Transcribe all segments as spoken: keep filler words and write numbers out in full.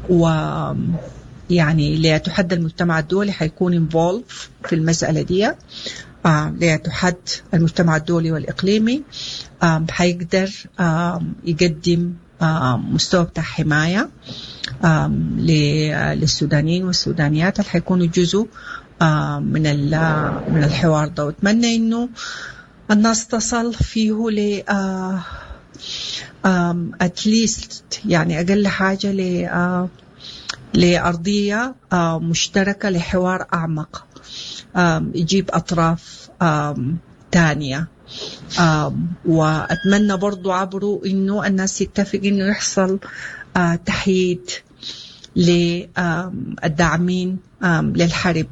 و يعني ليتحدى المجتمع الدولي حيكون involved في المسألة دي، ليتحد المجتمع الدولي والإقليمي حيقدر يقدم مستوى بتاع حماية للسودانيين والسودانيات اللي حيكونوا جزء من من الحوار ده. واتمنى إنه الناس تصل فيه ل at least يعني أقل حاجة ل لأرضية مشتركة لحوار أعمق يجيب أطراف تانية. وأتمنى برضو عبره إنه الناس تتفق إنه يحصل تحييد للداعمين للحرب،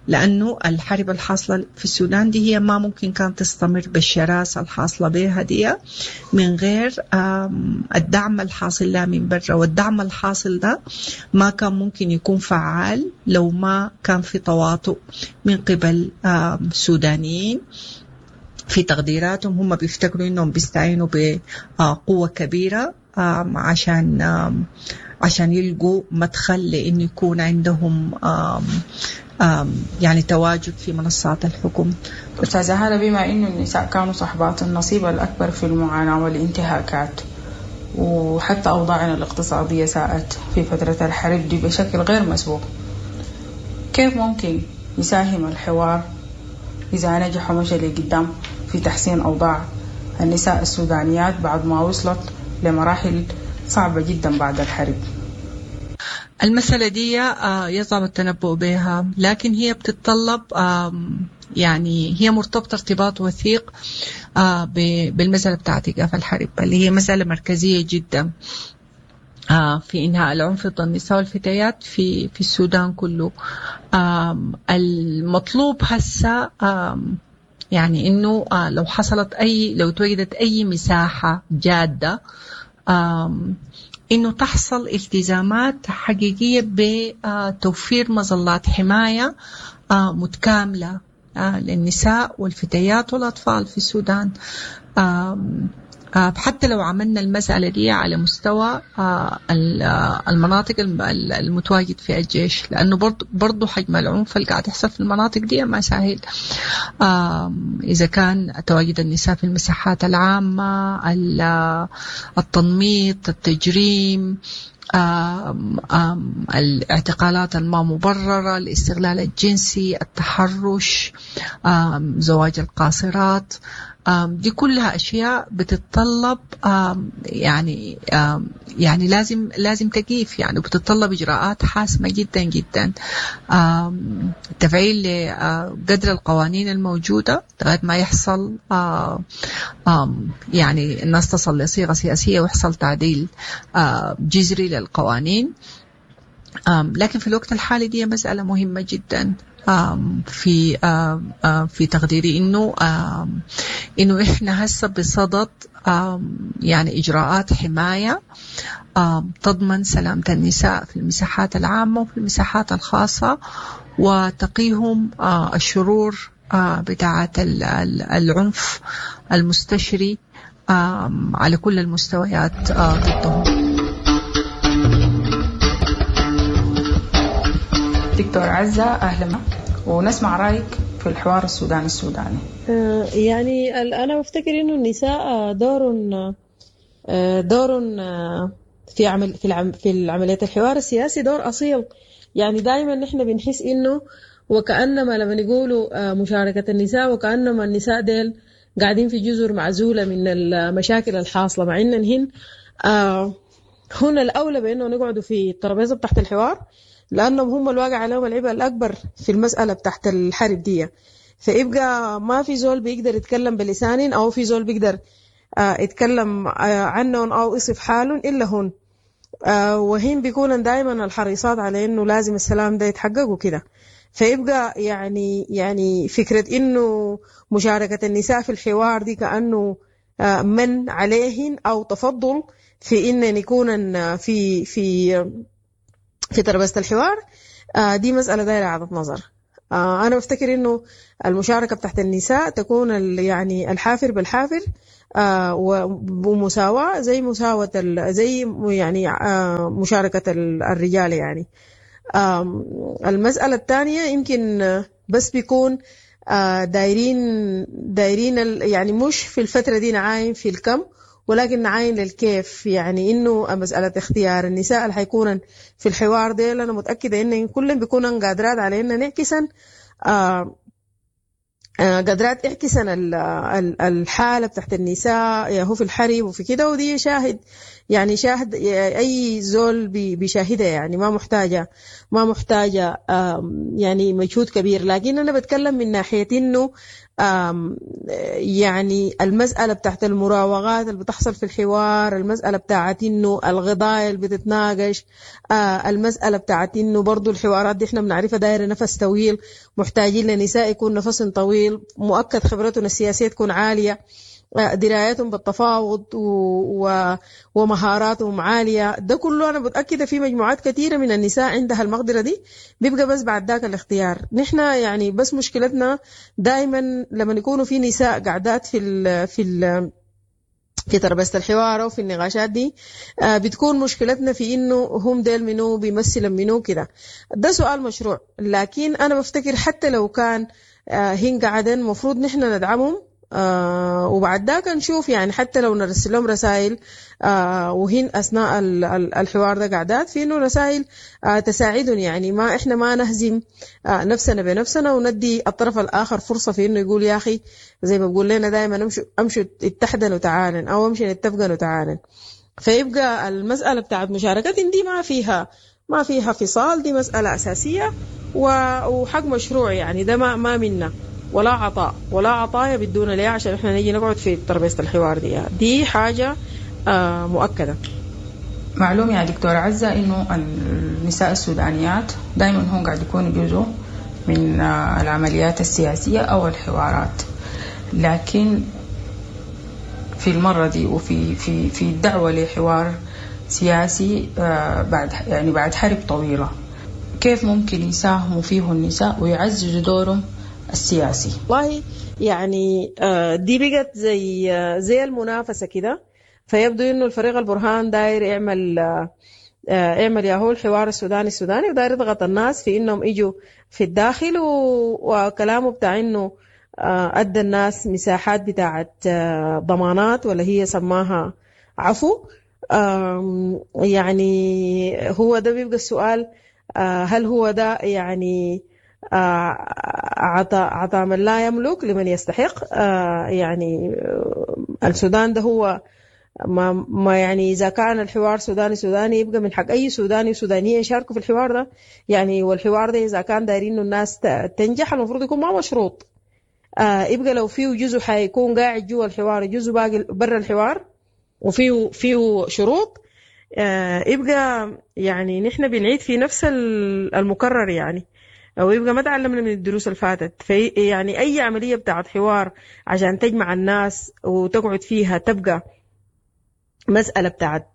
لأنه الحرب الحاصلة في السودان دي هي ما ممكن كانت تستمر بالشراسة الحاصلة بها دي من غير الدعم الحاصل لها من برا، والدعم الحاصل ده ما كان ممكن يكون فعال لو ما كان في تواطؤ من قبل سودانيين في تقديراتهم. هم بيفتكروا إنهم بيستعينوا بقوة كبيرة عشان عشان يلقوا مدخل لإنه يكون عندهم يعني تواجد في منصات الحكم. أستاذة هالة، بما إنه النساء كانوا صاحبات النصيب الأكبر في المعاناة والانتهاكات، وحتى أوضاعنا الاقتصادية ساءت في فترة الحرب دي بشكل غير مسبوق، كيف ممكن يساهم الحوار إذا نجح ومشى لقدام في تحسين أوضاع النساء السودانيات بعد ما وصلت لمراحل صعبة جدا بعد الحرب؟ المسألة دي يصعب التنبؤ بها، لكن هي بتتطلب يعني هي مرتبطة ارتباط وثيق بالمسألة بتاعت إيقاف الحرب اللي هي مسألة مركزية جدا في إنهاء العنف ضد النساء والفتيات في في السودان كله. المطلوب هسه يعني إنه لو حصلت أي لو توجدت أي مساحة جادة إنه تحصل التزامات حقيقية بتوفير مظلات حماية متكاملة للنساء والفتيات والأطفال في السودان. حتى لو عملنا المسألة دي على مستوى المناطق المتواجد فيها الجيش، لأنه برضو حجم العنف اللي قاعد يحصل في المناطق دي ما سهل. إذا كان تواجد النساء في المساحات العامة، التنميط، التجريم، آم آم الاعتقالات الما مبررة، الاستغلال الجنسي، التحرش، زواج القاصرات، دي كلها أشياء بتتطلب يعني يعني لازم لازم تقيف يعني، وبتتطلب إجراءات حاسمة جدا جدا، تفعيل لقدر القوانين الموجودة لغاية ما يحصل يعني الناس تصل لصيغة سياسية ويحصل تعديل جذري للقوانين. لكن في الوقت الحالي دي مسألة مهمة جدا في في تقديري، إنه إنه إحنا هسه بصدد يعني إجراءات حماية تضمن سلامة النساء في المساحات العامة وفي المساحات الخاصة، وتقيهم الشرور بتاعة العنف المستشري على كل المستويات ضدهم. دكتور عزة، أهلا، ونسمع رأيك في الحوار السوداني السوداني. يعني أنا بفتكر إنه النساء دور دور في عمل في العم في عملية الحوار السياسي دور أصيل. يعني دائما نحن بنحس إنه وكأنما لما يقولوا مشاركة النساء وكأنما النساء ديل قاعدين في جزر معزولة من المشاكل الحاصلة، مع إن هن هنا الأولى بإنه نقعدوا في الترابيزة بتاعت الحوار، لأنهم هم الواقع عليهم العبء الأكبر في المسألة بتاعت الحرب دي. فيبقى ما في زول بيقدر يتكلم بلسان أو في زول بيقدر يتكلم عنهم أو يصف حالهم إلا هن، وهن بيكونن دائما الحريصات على إنه لازم السلام ده يتحقق وكده. فيبقى يعني يعني فكرة إنه مشاركة النساء في الحوار دي كأنه من عليهن أو تفضل في إن يكونن في في في ترابيزة الحوار، دي مسألة دايرة إعادة نظر. أنا بفتكر إنه المشاركة بتاعت النساء تكون يعني الحافر بالحافر آه ومساواة زي مساواة زي يعني آه مشاركة الرجال يعني. آه المسألة الثانية يمكن بس بيكون آه دايرين دايرين يعني مش في الفترة دي نعاين في الكم، ولكن نعاين للكيف. يعني إنه مسألة اختيار النساء اللي حيكونن في الحوار ده، أنا متأكدة إن كلهم بيكونن قادرات على إن نعكسن آه قادرات يعكسن الحالة بتاعت النساء يا هو في الحرب وفي كده، ودي شاهد يعني شاهد أي زول بيشاهدها، يعني ما محتاجة ما محتاجة يعني مجهود كبير. لكن أنا بتكلم من ناحية إنه يعني المسألة بتاعت المراوغات اللي بتحصل في الحوار، المسألة بتاعت إنه القضايا اللي بتتناقش، المسألة بتاعت إنه برضو الحوارات دي إحنا بنعرفها دايرة نفس طويل، محتاجين لنساء يكون نفس طويل، مؤكد خبرتهم السياسية تكون عالية، درايتهم بالتفاوض و... ومهاراتهم عالية. ده كله أنا متأكدة في مجموعات كثيرة من النساء عندها المقدرة دي، بيبقى بس بعد ذاك الاختيار. نحن يعني بس مشكلتنا دائما لما يكونوا في نساء قاعدات في ال... في ال... في تربية الحوار وفي النقاشات دي، بتكون مشكلتنا في إنه هم ديل منو بيمثلوا منو كده. ده سؤال مشروع، لكن أنا بفتكر حتى لو كان هن قاعدين مفروض نحن ندعمهم، آه وبعد ذاك نشوف يعني حتى لو نرسل لهم رسائل آه وهن أثناء الحوار ده قاعدات في إنه رسائل آه تساعدهم، يعني ما إحنا ما نهزم آه نفسنا بنفسنا وندي الطرف الآخر فرصة في إنه يقول يا أخي زي ما بقول لنا دائما امشوا امشوا اتحدن وتعالن أو امشي نتفقن وتعالن. فيبقى المسألة بتاعت مشاركتهم دي ما فيها ما فيها فصال، دي مسألة أساسية وحق مشروع، يعني ده ما ما منا ولا عطاء ولا عطايا بدون ليه عشان احنا نيجي نقعد في ترابيزة الحوار دي. دي حاجة آه مؤكدة. معلوم يا دكتورة عزة إنه النساء السودانيات دائما هم قاعد يكونوا جزء من العمليات السياسية أو الحوارات، لكن في المرة دي وفي في في الدعوة لحوار سياسي بعد يعني بعد حرب طويلة، كيف ممكن يساهموا فيه النساء ويعززوا دورهم السياسي؟ والله يعني دي بقت زي زي المنافسة كده. فيبدو إنه الفريق البرهان داير يعمل يعمل ياهو الحوار السوداني السوداني، وداير يضغط الناس في إنهم يجوا في الداخل، وكلامه بتاع إنه أدى الناس مساحات بتاعت ضمانات ولا هي سماها عفو. يعني هو ده بيبقى السؤال، هل هو ده يعني عطاء عطاء من لا يملك لمن يستحق؟ يعني السودان ده هو ما ما يعني إذا كان الحوار سوداني سوداني يبقى من حق أي سوداني وسودانية يشاركوا في الحوار ده يعني. والحوار ده إذا كان دايرين إنه الناس تنجح المفروض يكون ما مشروط، يبقى لو فيه جزء حيكون قاعد جوا الحوار جزء باقي برا الحوار وفيه فيه شروط، يبقى يعني نحن بنعيد في نفس المكرر يعني، أو يبقى ما تعلمنا من الدروس اللي فاتت. في يعني أي عملية بتاعت حوار عشان تجمع الناس وتقعد فيها تبقى مسألة بتاعت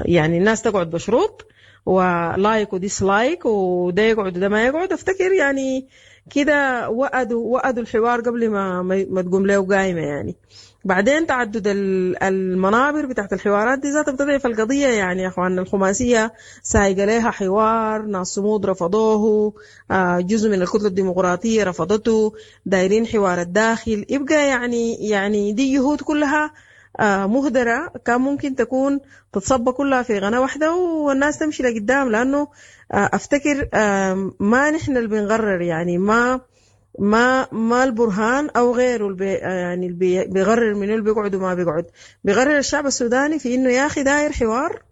يعني الناس تقعد بشروط و like و dislike وده يقعد وده ما يقعد. افتكر يعني كده وأدوا وأدوا الحوار قبل ما ما تقوم له قايمة يعني. بعدين تعدد المنابر بتاعت الحوارات دي ذاتها بتضعف القضية يعني يا اخواننا. الخماسية سايقة لها حوار، ناس صمود رفضوه، جزء من الكتلة الديمقراطية رفضته، دايرين حوار الداخل. يبقى يعني يعني دي جهود كلها مهدرة كان ممكن تكون تتصب كلها في غناء واحدة والناس تمشي لقدام. لأنه أفتكر ما نحن اللي بنغرر يعني، ما ما ما البرهان أو غيره اللي يعني اللي بيغرر منه اللي بيقعد وما بيقعد، بيغرر الشعب السوداني في إنه يا أخي داير حوار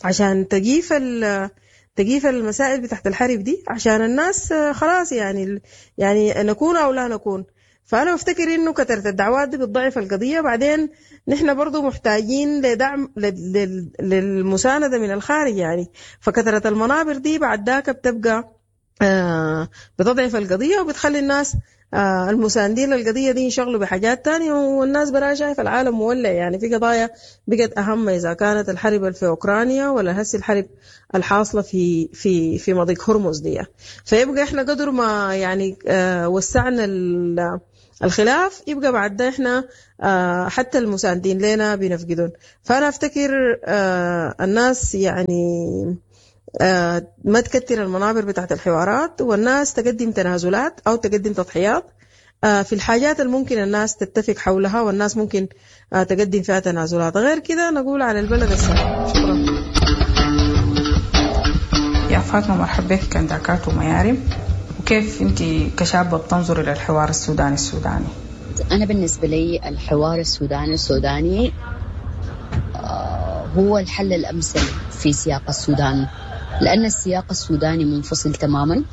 عشان تجيف ال تجيف المسائل بتاعت الحرب دي، عشان الناس خلاص يعني يعني نكون أو لا نكون. فأنا بفتكر إنه كثرة الدعوات دي بتضعف القضية. بعدين نحن برضو محتاجين لدعم للمساندة من الخارج يعني، فكثرة المنابر دي بعد ذاك بتبقى آه بتضعف القضية وبتخلي الناس آه المساندين للقضية دي ينشغلوا بحاجات تانية، والناس برا شايف العالم مولع يعني. في قضايا بقت أهم، إذا كانت الحرب في أوكرانيا ولا هسي الحرب الحاصلة في في في مضيق هرمز دي. فيبقى إحنا قدر ما يعني آه وسعنا الخلاف يبقى بعد ده احنا حتى المساندين لنا بنفقدون. فأنا أفتكر الناس يعني ما تكتر المنابر بتاعت الحوارات، والناس تقدم تنازلات أو تقدم تضحيات في الحاجات الممكن الناس تتفق حولها، والناس ممكن تقدم فيها تنازلات. غير كده نقول على البلد السلام. شكرا يا فاطمة. مرحبا بك كنداكات وميارم. وكيف أنت كشابة بتنظري للحوار السوداني السوداني؟ أنا بالنسبة لي الحوار السوداني السوداني هو الحل الأمثل في سياق السودان، لأن السياق السوداني منفصل تماما،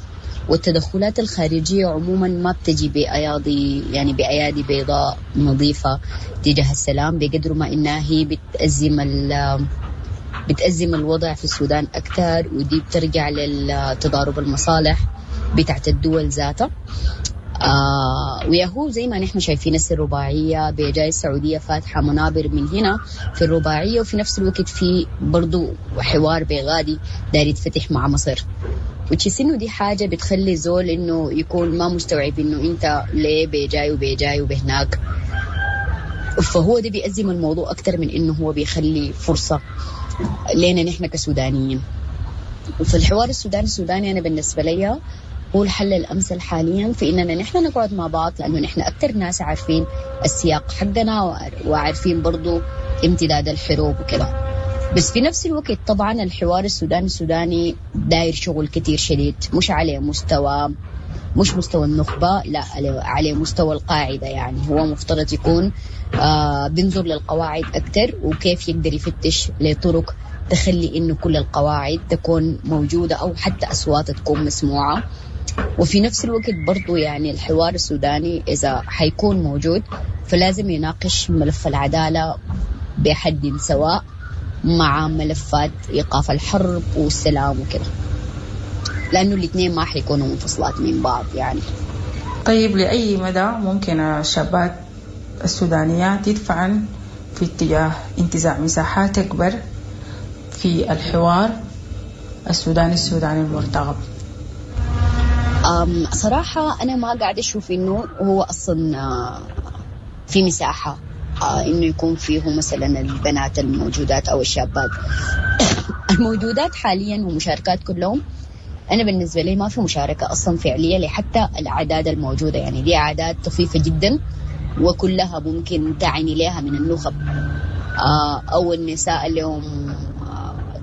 والتدخلات الخارجية عموما ما بتجي بأيادي يعني بأيادي بيضاء نظيفة تجاه السلام، بقدر ما إنها هي بتأزم بتأزم الوضع في السودان أكثر، ودي بترجع للتضارب المصالح بتاعت الدول ذاتها. آه وياهو زي ما نحن شايفين الرباعية بجاي السعودية فاتحة منابر من هنا في الرباعية، وفي نفس الوقت في برضو حوار بغادي داير يتفتح مع مصر، وتحس إنه دي حاجة بتخلي زول إنه يكون ما مستوعب إنه أنت ليه بجاي وبجاي وبهناك، فهو ده بيأزم الموضوع أكتر من إنه هو بيخلي فرصة لنا نحن كسودانيين. وفي الحوار السوداني السوداني أنا بالنسبة لي هو الحل الأمثل حاليا في إننا نحن نقعد مع بعض، لأنه نحن أكتر ناس عارفين السياق حقنا وعارفين برضو امتداد الحروب وكده. بس في نفس الوقت طبعا الحوار السوداني السوداني داير شغل كتير شديد، مش على مستوى مش مستوى النخبة، لا على مستوى القاعدة. يعني هو مفترض يكون آه بينظر للقواعد أكتر، وكيف يقدر يفتش لطرق تخلي إنه كل القواعد تكون موجودة أو حتى أصواتها تكون مسموعة. وفي نفس الوقت برضو يعني الحوار السوداني إذا حيكون موجود فلازم يناقش ملف العدالة بحد سواء مع ملفات إيقاف الحرب والسلام وكده، لأنه الاثنين ما حيكونوا منفصلات من بعض يعني. طيب لأي مدى ممكن الشابات السودانيات يدفعن في اتجاه انتزاع مساحات أكبر في الحوار السوداني السوداني المرتقب؟ صراحة أنا ما قاعدة أشوف إنه هو أصلا في مساحة إنه يكون فيه مثلا البنات الموجودات أو الشابات الموجودات حاليا ومشاركات كلهم. أنا بالنسبة لي ما في مشاركة أصلا فعلية لحتى الأعداد الموجودة، يعني دي أعداد طفيفة جدا وكلها ممكن تعني لها من النخب أو النساء اللي هم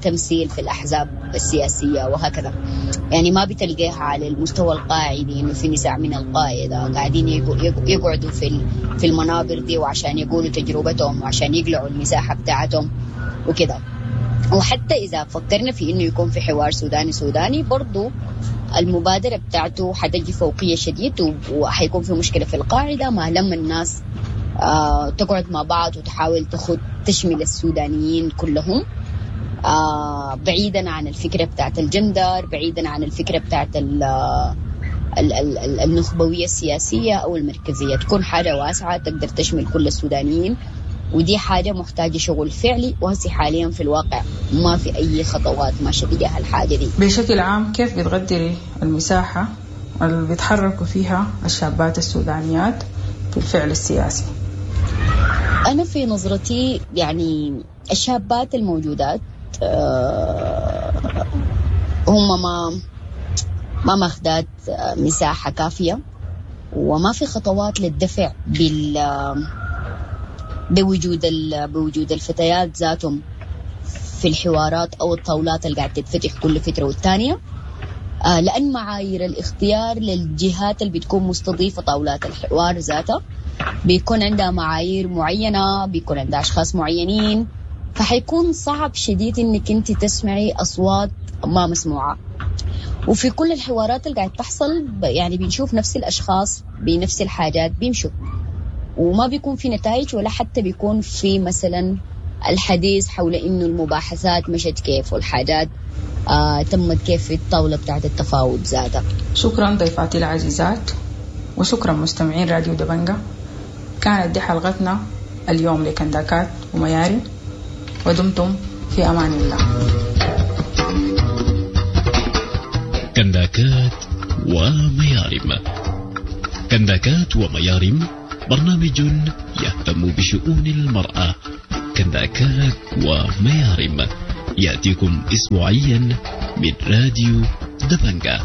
تمثيل في الأحزاب السياسية وهكذا. يعني ما بتلقاها على المستوى القاعدي إنه في نساء من القاعدة قاعدين يقعدوا في في المنابر دي وعشان يقولوا تجربتهم وعشان يقلعوا المساحة بتاعتهم وكده. وحتى إذا فكرنا في إنه يكون في حوار سوداني سوداني برضو المبادرة بتاعته حتجي فوقية شديد، وحيكون في مشكلة في القاعدة ما لما الناس آه تقعد مع بعض وتحاول تخد تشمل السودانيين كلهم، آه بعيدا عن الفكرة بتاعت الجندر، بعيدا عن الفكرة بتاعت ال ال ال النخبوية السياسية أو المركزية، تكون حاجة واسعة تقدر تشمل كل السودانيين. ودي حاجة محتاجة شغل فعلي، وهسي حاليا في الواقع ما في أي خطوات ماشية تجاه الحاجة دي. بشكل عام كيف بتقدري المساحة اللي بيتحركوا فيها الشابات السودانيات في الفعل السياسي؟ أنا في نظرتي يعني الشابات الموجودات هم ما ما ماخدات مساحة كافية، وما في خطوات للدفع بال بوجود بوجود الفتيات ذاتهم في الحوارات أو الطاولات اللي قاعدة تتفتح كل فترة والتانية، لأن معايير الاختيار للجهات اللي بتكون مستضيفة طاولات الحوار ذاتها بيكون عندها معايير معينة، بيكون عندها أشخاص معينين، فحيكون صعب شديد إنك أنت تسمعي أصوات ما مسموعة. وفي كل الحوارات اللي قاعد تحصل يعني بنشوف نفس الأشخاص بنفس الحاجات بيمشوا، وما بيكون في نتائج، ولا حتى بيكون في مثلا الحديث حول إنه المباحثات مشت كيف والحاجات آه تمت كيف في الطاولة بتاعت التفاوض ذاتها. شكرا ضيفاتي العزيزات، وشكرا مستمعين راديو دبنجة. كانت دي حلقتنا اليوم لكنداكات ومياري، ودمتم في أمان الله. كنداكات وميارم، كنداكات وميارم برنامج يهتم بشؤون المرأة. كنداكات وميارم يأتيكم أسبوعيا من راديو دبنجة.